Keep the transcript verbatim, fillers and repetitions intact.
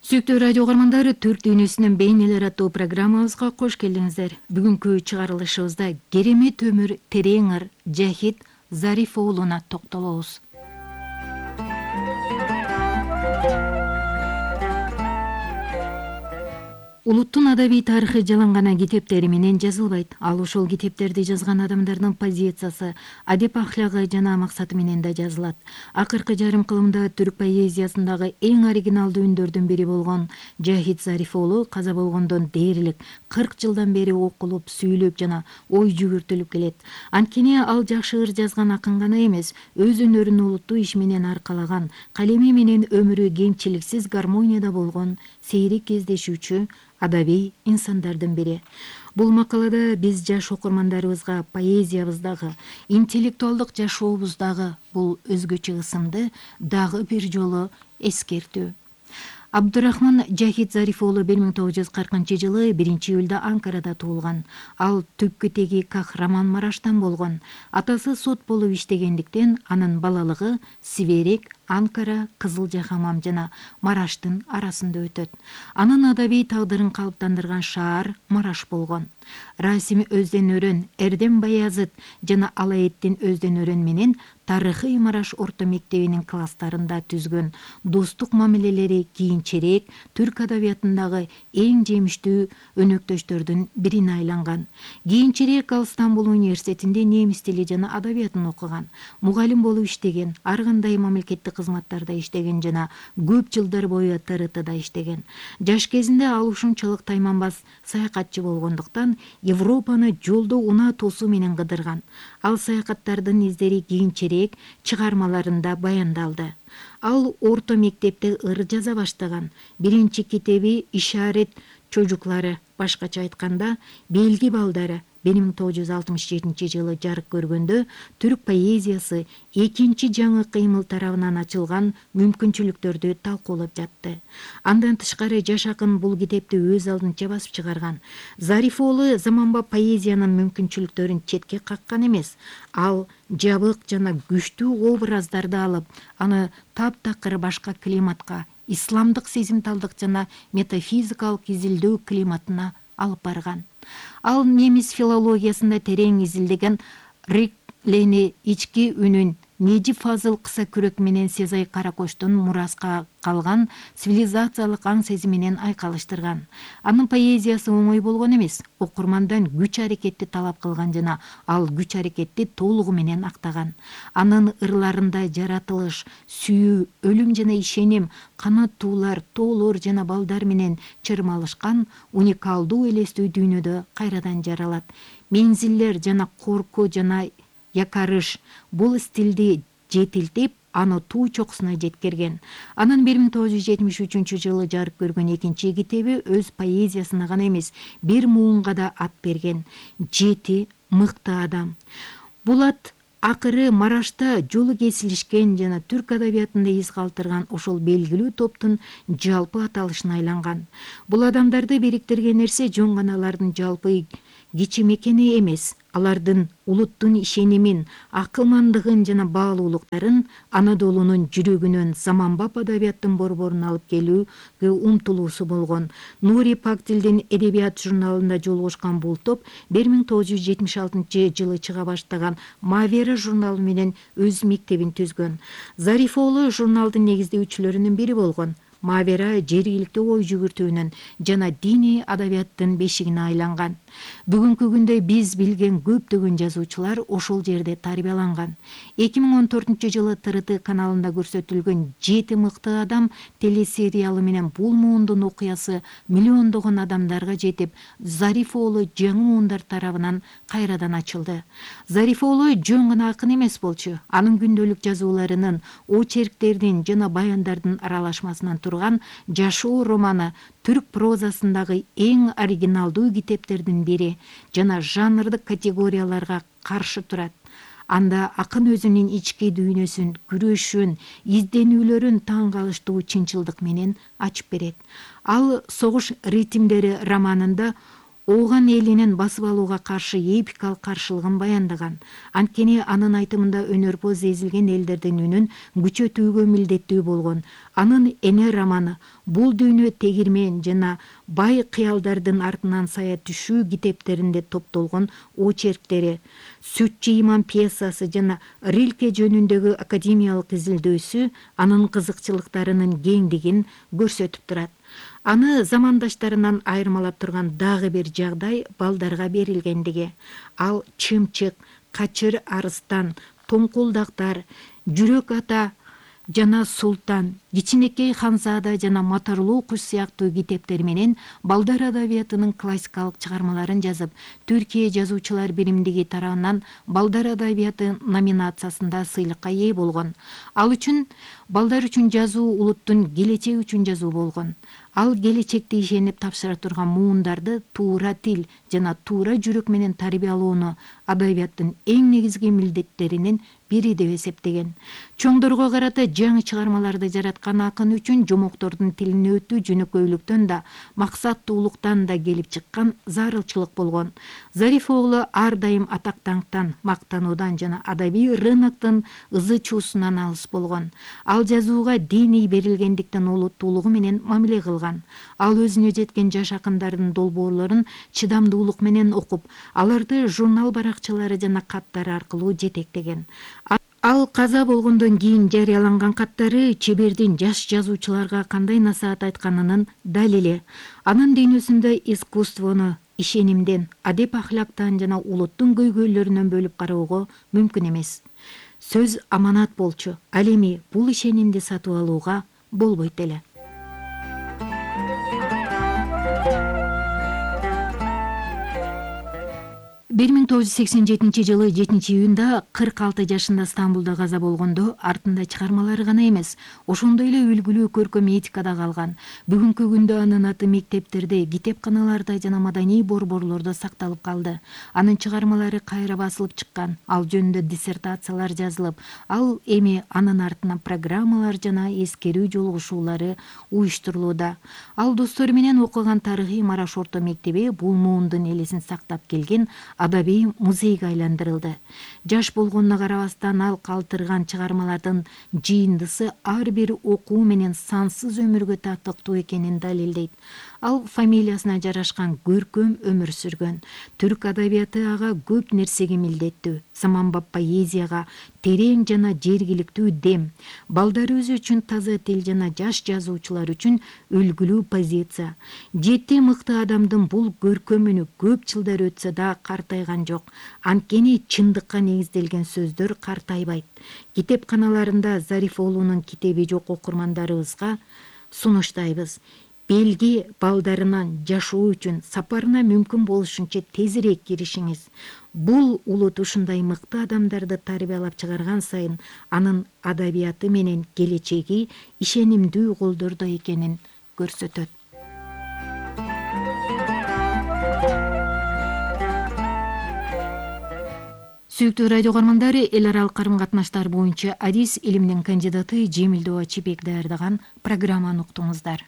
Сүйүктүү радио угармандары, Түрк дүйнөсүнүн бейнелери аттуу программабызга кош келдиңиздер. Бүгүнкү чыгарылышыбызда керемет өмүр терең ыр Жахит Зариф уулуна токтолобуз. Улуттун адабий тарыхы жалаң гана китептери менен жазылбайт. Ал ошол китептерди жазган адамдардын позициясы, адеп ахлагы жана максаты менен да жазылат. Акыркы жарым кылымда түрк поэзиясындагы эң оригиналдуу үндөрдүн бири болгон Жахит Зариф уулу каза болгондон дээрлик кырк жылдан бери окулуп, сүйлөп жана ой жүгүртүлүп келет. Анткени ал жакшы ыр жазган акын гана эмес, өз өнөрүн улуттуу иш менен аркалаган, калеми менен өмүрү кемчиликсиз гармонияда болгон сейрек кездешүүчү адабий инсандардын бири. Бул макалада биз жаш окурмандарыбызга поэзиябыздагы, интеллектуалдык жашообуздагы бул өзгөчө ысымды дагы бир жолу эскертүү. Абдурахман Жахит Зариф уулу бир миң тогуз жүз кыркынчы жылы биринчи июлда Анкарада туулган. Ал түпкү теги Кахраман-Мараштан болгон. Атасы сот болуп иштегендиктен анын балалыгы Сиберек, Анкара, Кызылжахамам жана Мараштын арасында өтөт. Анын адабий тагдырын калыптандырган шаар Мараш болгон. Расим Өздөн-Өрөн, Эрдем Баязыт жана Алаэттин Өздөн-Өрөн менен тарыхый Мараш орто мектебинин класстарында түзгөн достук мамилелери кийинчерээк түрк адабиятындагы эң жемиштүү өнөктөштөрдүн бирине айланган. Кийинчерээк ал Стамбул университетинде немис тили жана адабиятын окуган. Мугалим болуп иштеген, ар кандай мамлекеттик кызматтарда иштеген жана көп жылдар бою Т Р Тда иштеген. Жаш кезинде ал ушунчалык тайманбас саякатчы болгондуктан Европаны жолдо унаа тосуу менен кыдырган. Ал саякаттардын издери кийинчерээк чыгармаларында баяндалды. Ал орто мектепте ыр жаза баштаган. Биринчи китеби Ишарет чожуклары, башкача айтканда Белги балдары бир миң тогуз жүз алтымыш жетинчи жылы жарык көргөндө түрк поэзиясы экинчи жаңы кыймыл тарабынан ачылган мүмкүнчүлүктөрдү талкуулап жатты. Андан тышкары жаш акын бул китепти өз алдынча басып чыгарган. Зариф уулу заманбап поэзиянын мүмкүнчүлүктөрүн четке каккан эмес. Ал жабык жана күчтүү образдарды алып, аны таптакыр башка климатка, исламдык сезимталдык жана метафизикалык изилдөө климатына алып барган. Ал немис филологиясында терең изилдеген Риклени ички үнүн Нежи Фазыл кыса күрөк менен Сезай Каракоштун мураска калган цивилизациялык аң сезиминен айкалыштырган. Анын поэзиясы оңой болгон эмес, окурмандан күч аракетти талап кылган жана ал күч аракетти толугу менен актаган. Анын ырларында жаратылыш, сүйүү, өлүм жана ишеним, канаттуулар, тоолор жана балдар менен чырмалышкан уникалдуу элестүү дүйнөдө кайрадан жаралат. Мензилдер жана коркуу жана якарыш бул стилди жетилтип, аны туу чокусуна жеткирген. Анын бир миң тогуз жүз жетимиш үчүнчү жылы жарык көргөн экинчи китеби өз поэзиясына гана эмес, бир муунга да ат берген. Жети мыкты адам. Бул ат акыры Марашта жолу кесилишкен жана түрк адабиятында из калтырган ошол белгилүү топтун жалпы аталышына айланган. Бул адамдарды бириктирген нерсе жөн гана алардын жалпы кичим экени эмес, алардын улуттун ишенимин, акылмандыгын жана баалуулуктарын Анадолунун жүрөгүнөн заманбап адабияттын борборуна алып келүүгө умтулуусу болгон. Нури Пактилдин Эдебият журналында жолугушкан бул топ бир миң тогуз жүз жетимиш алтынчы жылы чыга баштаган Мавера журналы менен өз мектебин түзгөн. Зариф уулу журналдын негиздөөчүлөрүнүн бири болгон. Мавера жергиликтүү ой жүгүртүүнүн жана диний адабияттын бешигине айланган. Бүгүнкү күндө биз билген көптөгөн жазуучулар ошол жерде тарбияланган. эки миң он төртүнчү жылы Т Р Т каналында көрсөтүлгөн Жети мыкты адам телесериалы менен бул муундун окуясы миллиондогон адамдарга жетип, Зариф уулу жаңы муундар тарабынан кайрадан ачылды. Зариф уулу жөн гана акын эмес болчу. Анын күндөлүк жазууларынын, очерктердин жана баяндардын аралашмасынан турган Жашоо романы түрк прозасындагы эң оригиналдуу китептердин бири жана жанрдык категорияларга каршы турат. Анда акын өзүнүн ички дүйнөсүн, күрөшүн, изденүүлөрүн таң калыштуу чынчылдык менен ачып берет. Ал Согуш ритмдери романында ооган элинин басып алууга каршы эпикалык каршылыгын баяндаган. Анткени анын айтымында өнөрпоз эзилген элдердин үнүн күчөтүүгө милдеттүү болгон. Анын Эне романы, Бул дүйнө тегирмен жана Бай кыялдардын артынан сая түшүү китептеринде топтолгон очерктери, Сүтчү иман пьесасы жана Рилке жөнүндөгү академиялык изилдөөсү анын кызыкчылыктарынын кеңдигин көрсөтүп турат. Аны замандаштарынан айырмалап турган дагы бир жагдай балдарга берилгендиги. Ал Чымчык, Качыр арыстан, Тоңкулдактар, Жүрөк ата жана Султан, Кичинекей Ханзада жана Моторлуу куш сыяктуу китептери менен балдар адабиятынын классикалык чыгармаларын жазып, Түркия жазуучулар биримдиги тарабынан балдар адабияты номинациясында сыйлыкка ээ болгон. Ал үчүн балдар үчүн жазуу улуттун келечеги үчүн жазуу болгон. Ал келечекти ишенип тапшыра турган муундарды туура тил жана туура жүрөк менен тарбиялоону адабияттын эң негизги милдеттеринин бири деп эсептеген. Чоңдорго карата жаңы чыгармаларды жараткан акын үчүн жомоктордун тилине өтүү жөнөкөйлүктөн да, максаттуулуктан да келип чыккан зарылчылык болгон. Зариф оглу ар дайым атак-даңктан, мактануудан жана адабий рыноктун ызы-чуусунан алыс болгон. Ал жазууга диний берилгендиктен улуттуулугу менен мамиле кылган. Ал өзүнө жеткен жаш акындардын долбоорлорун чыдамдуулук менен окуп, аларды журнал баракчалары жана каттары аркылуу жетектеген. Ал каза болгондон кийин жарыяланган каттары чебердин жаш жазуучуларга кандай насаат айтканынын далили. Анын дүйнөсүндө искусствону ишенимден, адеп-ахлактан жана улуттун көйгөйлөрүнөн бөлүп кароого мүмкүн эмес. Сөз аманат болчу. Ал эми бул ишенимди сатып алууга болбойт эле. бир миң тогуз жүз сексен жетинчи жылы жетинчи июнда кырк алты жашында Стамбулда каза болгондо артында чыгармалары гана эмес, ошондой эле үлгүлүү көркөм этикада калган. Бүгүнкү күндө анын аты мектептерде, китепканаларда жана маданий борборлордо сакталып калды. Анын чыгармалары кайра басылып чыккан, ал жөнүндө диссертациялар жазылып, ал эми анын артынан программалар жана эскерүү жолугушуулары уюштурулууда. Ал достору менен окуган тарыхый Мараш орто мектеби бул муундун элесин сактап келген адабий музейге айландырылды. Жаш болгонуна карабастан ал калтырган чыгармалардын жыйындысы ар бир окуу менен сансыз өмүргө татыктуу экенин далилдейт. Ал фамилиясына жарашкан көркөм өмүр сүргөн. Түрк адабияты ага көп нерсеге милдеттүү. Заманбап поэзияга терең жана жергиликтүү дем, балдарыбыз үчүн таза тил жана жаш жазуучулар үчүн үлгүлүү позиция. Жети мыкты адамдын бул көркөмүнү көп жылдар өтсө да картайган жок. Анткени чындыкка негизделген сөздөр картайбайт. Китепканаларында Зариф оглунун китеби жок окурмандарыбызга сунуштайбыз. Белги балдарынан жашоо үчүн сапарына мүмкүн болушунча тезирээк киришиңиз. Бул улут ушундай мыкты адамдарды тарбиялап чыгарган сайын анын адабияты менен келечеги ишенимдүү колдордо экенин көрсөтөт. Сүйүктүү радио көрөрмандары, эл аралык карым-катнаштар боюнча адис илиминин кандидаты Жемилдөө Ачыбек даярдаган программаны уктуңуздар.